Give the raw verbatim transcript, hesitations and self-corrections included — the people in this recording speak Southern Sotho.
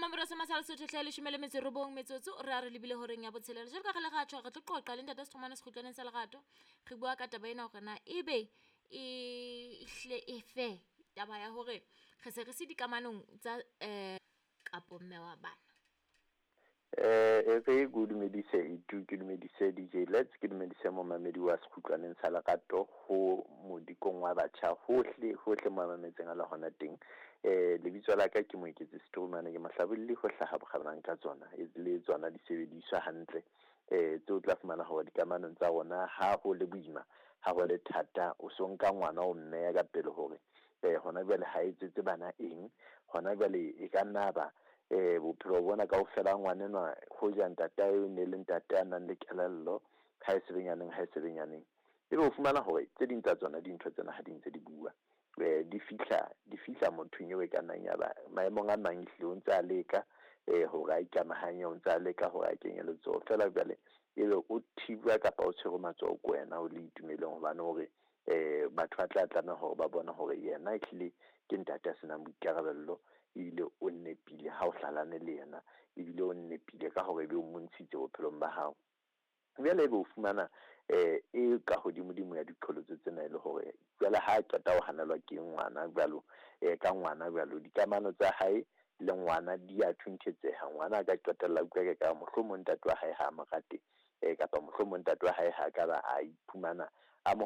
Mamora se masala Sotho hle leshome le metso e robong metsotso re a re lebile horeng ya botshelela. Jwalo ka re le ratjho re tlo qoqa le ntate Sethomane sekgutlwaneng sa lerato. Re bua ka taba ena hore na ebe e hle e fe taba ya hore re se re se dikamanong tsa eh kapo mme wa bana. Eh e re ke o dumedise Itu, ke dumedise D J Let's, ke dumedise momamedi wa sekgutlwaneng sa lerato ho modikong wa batjha hohle hohle mo mametseng a le hona teng. Eh lebitso la ka ke Moeketsi Setoromane, ke mohlabolli ho hlaha bokgabanang ka tsona, e le tsona di sebediswa hantle. Eh tseo tla fumana hore dikamanong tsa rona ha ho le boima, ha ho le thata, o so nka ngwana o mmeya ka pele hore eh hona jwale ha etsetse bana eng, hona jwale e ka nna ba eh bophelo bona kaofela ngwanenwa hoja ntatae o ne le ntate a nang le kelello, ha e sebenyaneng, ha e sebenyaneng. Ebe o fumana hore tse ding tsa tsona dintho tsena ha di ntse di bua, eh di fihla, di fihla mothong eo e ka nnang ya ba maemong a mang ehlile o ntse a leka, eh hore a ikamahanye, o ntse a leka hore a kenye letsoho. Feela jwale ebe o thibwa kapa o tshwerwe matsoho ke wena o le itumeleng, hobane hore eh batho ba tla tlameha hore ba bone hore yena ehlile ke ntate a senang boikarabello, ebile o nepile ha o hlalane le yena, ebile o nepile ka hore ebe o montshitse bophelong ba hao. Jwale ebe o fumana eh e ka hodimodimo ya diqholotso tsena e le hore jwale ha a qeta ho hanelwa ke ngwana jwalo, eh ka ngwana jwalo, dikamano tsa hae le ngwana di a thunthetseha. Ngwana a ka qetella a utlwa ke ka mohlomong ntate wa hae ha a mo rate, eh kapa mohlomong ntate wa hae ha ka ba a iphumana